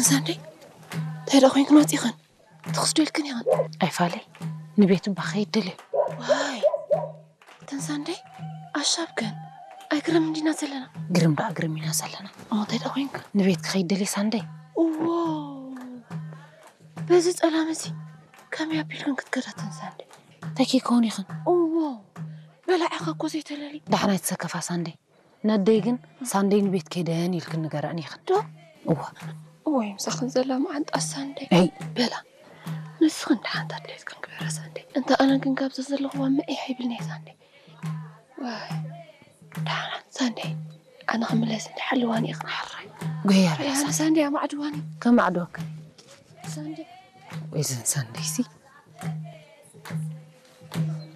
ሳንደይ እንታይ ደኣ ኮይንክን ወፂኽን? ትኽስዶ ኢልክን ኢኽን? ኣይፋለይ፣ ንቤት እባ ከይድ ደልየ። ዋይ፣ እተን ሳንደይ ኣሻብ ከን ኣይግርም እንዲና ዘለና። ግርም ደኣ ግርም ኢና ዘለና። እሞ እንታይ ደኣ ኮይንካ? ንቤት ክኸይድ ደልየ ሳንደይ። እዎ፣ በዚ ጸላም እዚ ከመይ ኣቢልክን ክትከዳ እተን ሳንደይ? እንታይ ከይከውን ኢኽን? እዎ፣ በላዕኻ እኮ ዘይተለሊ። ዳሕና ኣይትሰከፋ ሳንደይ። ነደይ ግን ሳንደይ ንቤት ከይደን ኢልክን ንገረን ኢኽን። ዶ? እዋ። እዎ፣ ይምሳኽን ዘላ መዓንጣ ሳንደይ። ኣይ። በላ፣ ንስኽን ደሓንታ ድሌትክን ግበራ ሳንደይ። እንተ ኣነ ግን ካብዚ ዘለኽዋ መዒሕ ይብልኒ ሳንደይ። ዋይ፣ ደሓና ሳንደይ። ኣነ ክምለስ እንዲ ሓልዋኒ ኢኽን ሓራይ። ጎያ በላ፣ በላ ሳንደይ። ሳንደይ ኣማዕድዋኒ። ከማዕድወክን። ሳንደይ። ወይ ዘን ሳንደይ ሲ።